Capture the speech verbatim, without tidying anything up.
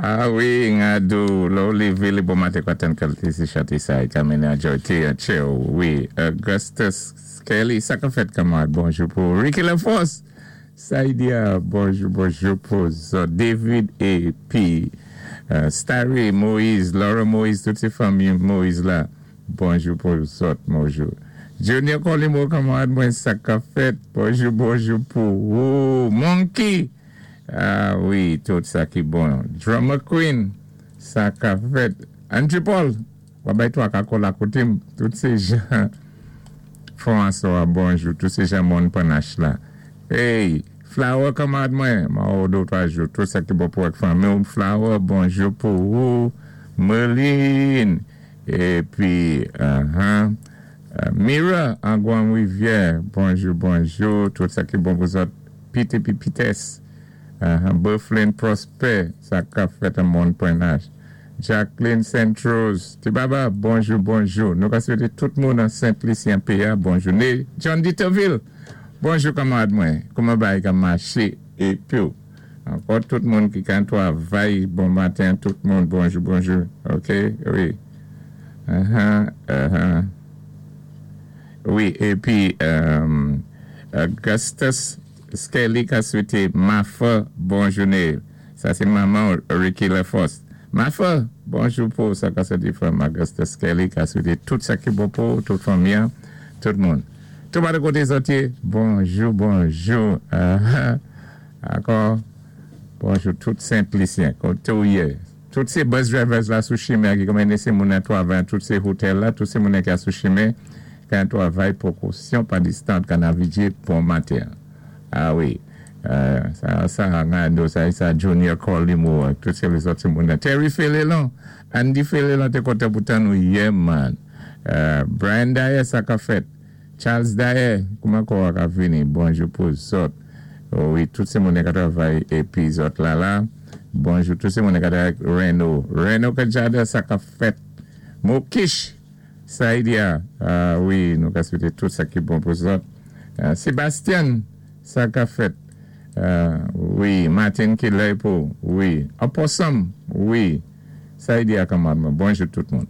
Ah wi, Ngadou, lè ou lévé lé bon maten kwa tann kalité sé chanté sa, ka mennen ajòyté an tchè ou. Wi, Augustus Kelly, sa ka fèt kanmarad, bonjou pou Ricky LaForce, Saidia, bonjou, bonjou pou zòt, David A P. Uh, Starry Moïse, Laura Moïse, tout sé fanmi Moïse la, bonjou pou zòt, bonjou. Junior Colimo, kanmarad mwen, sa ka fèt, bonjou, bonjou pou ou, Monkey, ah wi, tout sa ki bon. Drummer Queen, sa ka fèt. Andrew Paul, wabay toi ka kola koté, tout sé jan François, bonjou, tout sé jan moun Panache la. Hey, Flower kanmarad mwen, ma ou dé twa jou, tout sa ki bon pou ak fanmi, Flower, bonjou pou ou, Merlin, épi, uh-huh, uh, Mira, Angouan Rivière, bonjou, bonjou, tout sa ki bon pou zòt, Pete épi Pites, uh, Bufflin Prosper, sa ka fèt an moun Panache. Jacqueline Saint-Rose, Tibaba, bonjou, bonjou. Nou ka swété tout moun an Saint-Lucien P A, bonjou. Né, John Ditterville, bonjou kanmarad mwen. Kouman bagay ka maché épi ankò tout moun ki kan twavay, bon maten, tout moun, bonjou, bonjou. OK, wi. Uh-huh, uh-huh. Wi, épi euh, Augustus Skelly ka swété Mafa, bon jouné. Sa sé manman Ricky LaForce. Mafa, bonjou pou sa ka swété fanm Augustus Skelly ka swété tout sa ki bon pou tout fanmi, tout moun. Tout moun koté zòt yé, bonjou, bonjou. Uh-huh. Ankò, bonjou tout Saint-Lucien, koté ou yé. Tout sé bus drivers la sou chimen ki kon mennen sé moun an twavay, tout sé hotel la, tout sé moun ki a sou chimen, kan twavay pwékosyon pa distant kan navidjé bon maten. Ah wi. Euh, sa, sa, Ngado, sa, sa Junior Colimo, tout sé lèzòt moun. Terry Felelon, Andy Felelon, té kontan pou tann nou yè, man. Euh, Brian Dyer, sa ka fèt. Charles Dyer, kouman kò ka vini? Bonjou pou zòt. Oh, wi, tout sé moun ki twavay épi zòt la la. Bonjou, tout sé moun ki twavay Reno. Reno Kajada, sa ka fèt. Mokish, Saïdia, ah wi, nou ka swété tout sa ki bon pou zòt. Euh, Sébastien, sa ka fèt. Euh, wi, Martin ki pou, wi. Opossum, wi. Saïdia kanmarad, bonjou tout moun.